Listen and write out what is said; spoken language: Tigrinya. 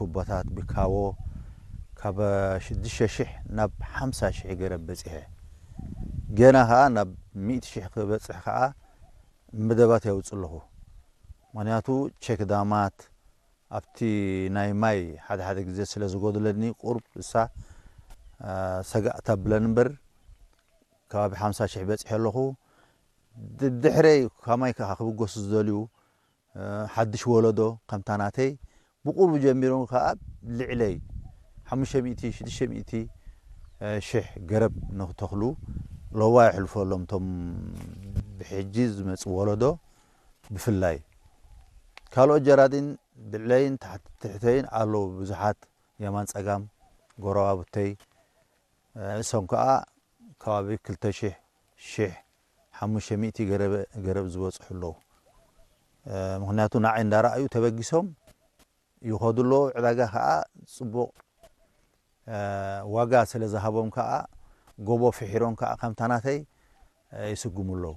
ቱቦታት ብካዎ ካብ ሽዱሽተ ሽሕ ናብ ሓምሳ ሽሕ ገረብ በጺሐ። ገና ከኣ ናብ ሚእቲ ሽሕ ክበጽሕ ከኣ መደባት የውጽእ ኣለኹ። ምኽንያቱ ቸክ ዳማት ኣብቲ ናይ ማይ ሓደ ሓደ ግዜ ስለ ዝጎድለኒ ቁሩብ እሳ ሰጋእ ተብለን እምበር ከባቢ ሓምሳ ሽሕ በጺሐ ኣለኹ። ድሕረይ ካብ ማይ ከዓ ክብገሱ ዝደልዩ ሓድሽ ወለዶ ከምታ ናተይ ብቁርቡ ጀሚሮም ከዓ ልዕለይ ሓሙሽተ ሚእቲ ሽዱሽተ ሚእቲ ሽሕ ገረብ ንክተኽሉ ለዋ የሕልፈሎም እቶም ብሕጂ ዝመፁ ወለዶ ብፍላይ። ካልኦት ጀራዲን ብልዕለይን ትሕተይን ኣለዉ ብዙሓት የማን ፀጋም ጎረባብተይ። እሶም ከዓ ከባቢ ክልተ ሽሕ ሽሕ ሓሙሽተ ሚእቲ ገረብ ዝበፅሑ ኣለዉ። ምክንያቱ ንዓይ እንዳረኣዩ ተበጊሶም ይኸዱ ኣለዉ። ዕዳጋ ከዓ ፅቡቕ ዋጋ ስለ ዝሃቦም ከዓ ጎቦ ፍሒሮም ከዓ ከምታ ናተይ ይስጉሙ ኣለዉ።